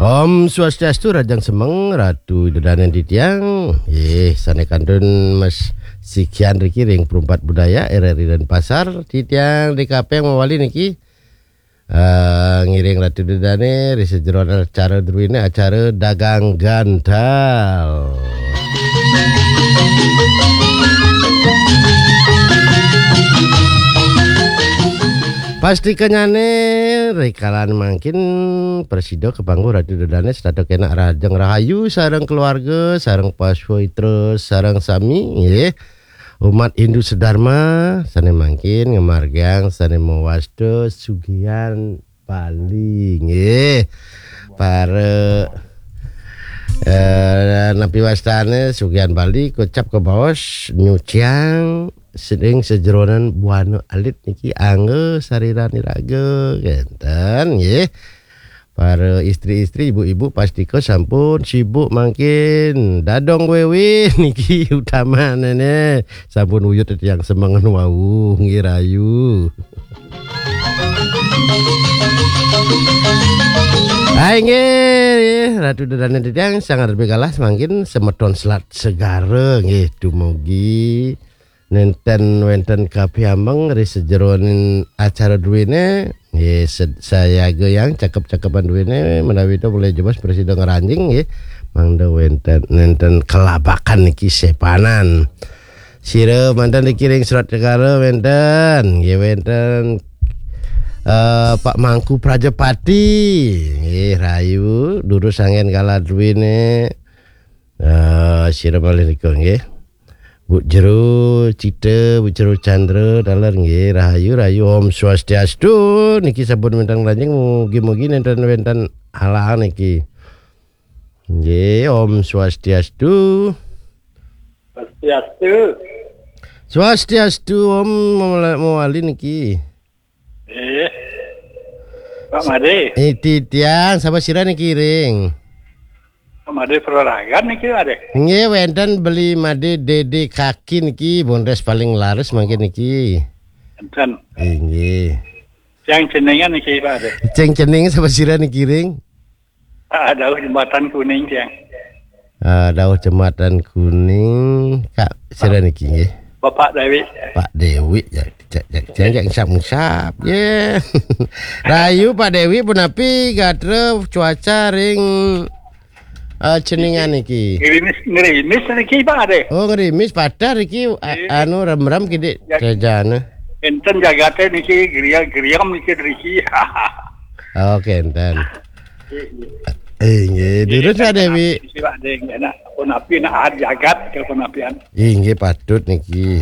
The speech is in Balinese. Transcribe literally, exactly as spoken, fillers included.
Om Swastiastu, rahajeng semeng Ratu Ida Dané titiang. Nggih, sané kantun Mas Sikian riki ring Perumpat Budaya R R I Denpasar, titiang D K P mawali niki. Eh, ngiring Ratu Ida Dané ri sajeroning acara druéné, acara Dagang Gantal. Pastikanyané rikalan mangkin prasida kapangguh Ratu Ida Dané setata kénak rahajeng rahayu sareng keluarga, sareng paswitra, sareng sami, nggih. Umat Hindu sedharma sané mangkin ngamargiang sané mawasta sugihan Bali, nggih. Para, eh, napi wastané sugihan Bali kocap kabaos nyuciang sedeng sajeroning buana alit niki angga sariran iraga, kénten, nggih. Para istri-istri, ibu-ibu pastika sampun sibuk mangkin. Dadong wéwé niki utamané. Sampun uyut titiang semengan wau, nggih rahayu. Hai nggih, Ratu Ida Dané titiang sanget lebih kalah mangkin semeton Selat Segara nggih dumugi nénten wénten kapiambeng ri sajeroning acara druéné, nggih, sed-, sayaga yang cakep-cakepan druéné menawi to mulai jebos prasida ngranjing, nggih. Mangda wénten, nénten kelabakan niki sépanan. Sira manten niki ring Selat Segara wénten, nggih, wénten, eh, Pak Mangku Prajapati, nggih, rahayu, durus anggén kalah druéné. Eh, sira malih nika, nggih. Bu Jero Cita, Bu Jero Chandra, taler nggih, rahayu, rahayu, Om Swastiastu. Niki sampun wénten ngranjing, mugi-mugi nénten wénten halangan niki. Nggih, Om Swastiastu. Swastiastu. Swastiastu, Om mawali, mawali niki. Eh, Pak Madé. Eh, titiang, sapa sira niki ring? Pak Madé Praragan niki, Madé. Nggih, wénten Beli Madé Dédé Kaki niki, bondes paling laris mangkin niki. Enten. Inggih. Yang jenengan niki, Pak Madé. Ceng jeneng sapa sira niki ring? Ah, dauh Jembatan Kuning, tiang. Ah, dauh Jembatan Kuning, Kak, sira niki nggih. Bapak Dewi. Pak Dewi, ya, cek, cek, cek, cek, ngusap-ngusap, ya. Rahayu Pak Dewi, punapi gatra cuaca ring, eh, Ceningan niki? Ngerimis, ngerimis niki, Pak Ade. Oh, ngerimis, patah niki, a-, Nggih. Anu, remrem kidik, ya, kejana. Enten jagate niki, geria-geriam niki, niki. Oke, enten. Inggih, durus ya, Dewi. Sira ding enak pun api nak jagat ke pun apian. Inggih, patut niki.